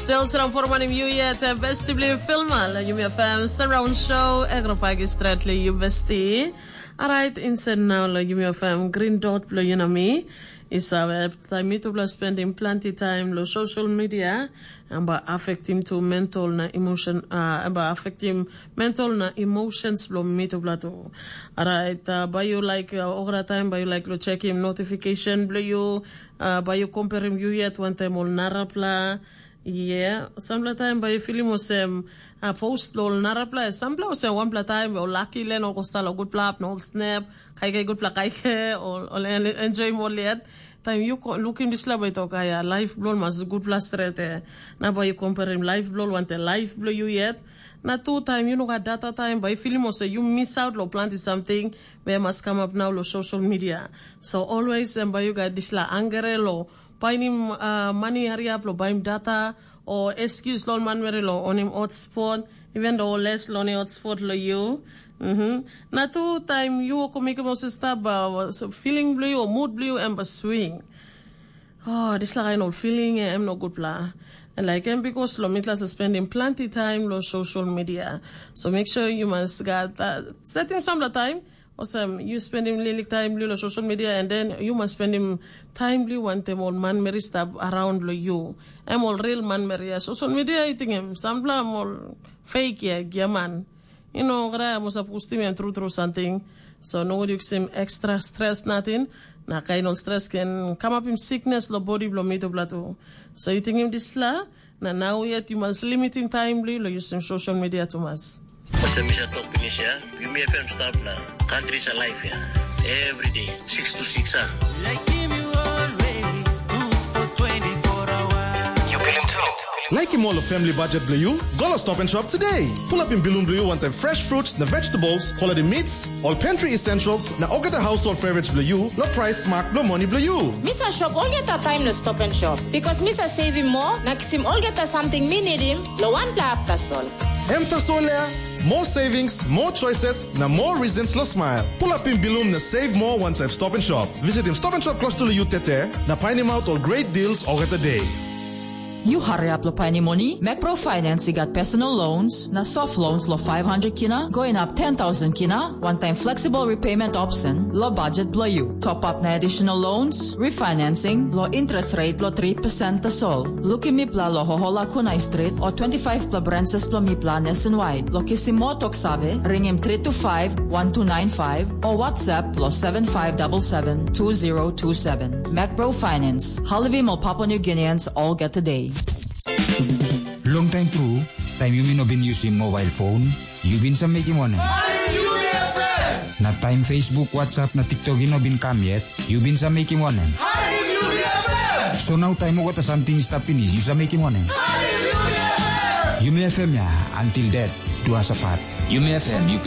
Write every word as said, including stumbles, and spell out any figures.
Still strong for morning you yet, uh, besti bli filma la yumi fam surround show, egro pagi stretli you besti. Alright, inside now la yumi fam green dot blo you know me. Is our time me to bla spending plenty time lo social media, and by affecting to mental na emotion, uh, and by affecting mental na emotions blo me to bla too. Alright, uh, by you like, uh, ogra time by you like lo check him notification blo you, uh, by you compare him you yet one time all narapla. Yeah, sampla taim bai yu filim olsem, a, post lo ol narapela, sampla olsem wanpela taim ol laki len ol kostal ol gutpela hap na ol snap, kaikai gutpela kaike, ol ol en- enjoyim ol yet. Taim yu ko- lukim dispela bai tok, aia, laif bilong ol mas gutpela stret, e. Na bai yu comparim laif bilong ol wantaim laif bilong yu yet. Na tu taim yu no gat data taim, bai yu filim olsem yu misaut lo planti samting, we mas kamap nau lo social media. So always em bai yu gat dispela angere lo painim, uh, mani hariap lo baim data, o excuse lo manmeri lo onim hotspot, even though les lo ni hotspot lo you. Mm-hmm. Na tu taim yu ko mekim ose stap, uh, so feeling blo you o mood blo you em ba swing. Oh, dispela kain ol feeling em no gutpela. And like em because lo mitla spending plenty time lo social media. So make sure you must got uh, setting some time. Olsem, yu spendim lilik taim blo lo social media, and then yu mas spendim taim blo wantaim ol manmeri stap around lo yu. Em ol real manmeri ya. Social media, I think em sampela em ol fake ya, giaman. You know, kara mo sa pustim em tru tru something. So no yu kisim extra stress natin. Na kain ol stress ken kamapim sickness lo body blo mi tupela tu. So you think him disla? Na nau yet yu mas limitim taim blo yu lo yusim social media tumas. Olsem mi sa tok pinis ya, Yumi F M stap na country sa life ya. Every day, six to six ah. Like him you always do for twenty-four hours. You feel him too? Like him all family budget blo you? Go lo Stop and Shop today. Pull up in bilum blo you want fresh fruits, the vegetables, quality meats, all pantry essentials, na olgeta household favorites blo you, lo price mark blo money blo you. Mi sa shop olgeta taim lo Stop and Shop, because mi sa saving more na kisim olgeta samting mi nidim lo wanpela hap tasol. Em tasol ya, more savings, more choices, na more reasons lo smile. Pull up in bilum na save more one time Stop and Shop. Visit him Stop and Shop close to you tete, na painim out all great deals olgeta day. You hurry up lo painim money, Macro Finance i gat personal loans, na soft loans lo five hundred kina, going up ten thousand kina, one time flexible repayment option, lo budget blo you. Top up na additional loans, refinancing, lo interest rate lo three percent tasol. Lukim mipela lo Hohola Kunai Street o twenty-five pla branches blo mipela nationwide. Lo kisim mo tok save, ringim three two five, one two nine five o WhatsApp lo seven five double seven, two zero two seven. Macro Finance, halivim o Papua New Guineans olgeta day. Long time tru, taim yumi no bin yusim mobile phone, yu bin sa mekim wanem? Harim yumi F M! Na taim Facebook, WhatsApp na TikTok i no bin kam yet, yu bin sa mekim wanem? Harim yumi F M! So nau taim olgeta samting i stap pinis, yu sa mekim wanem? Harim yumi F M! Yumi F M ya, until death do us apart. Yumi F M, you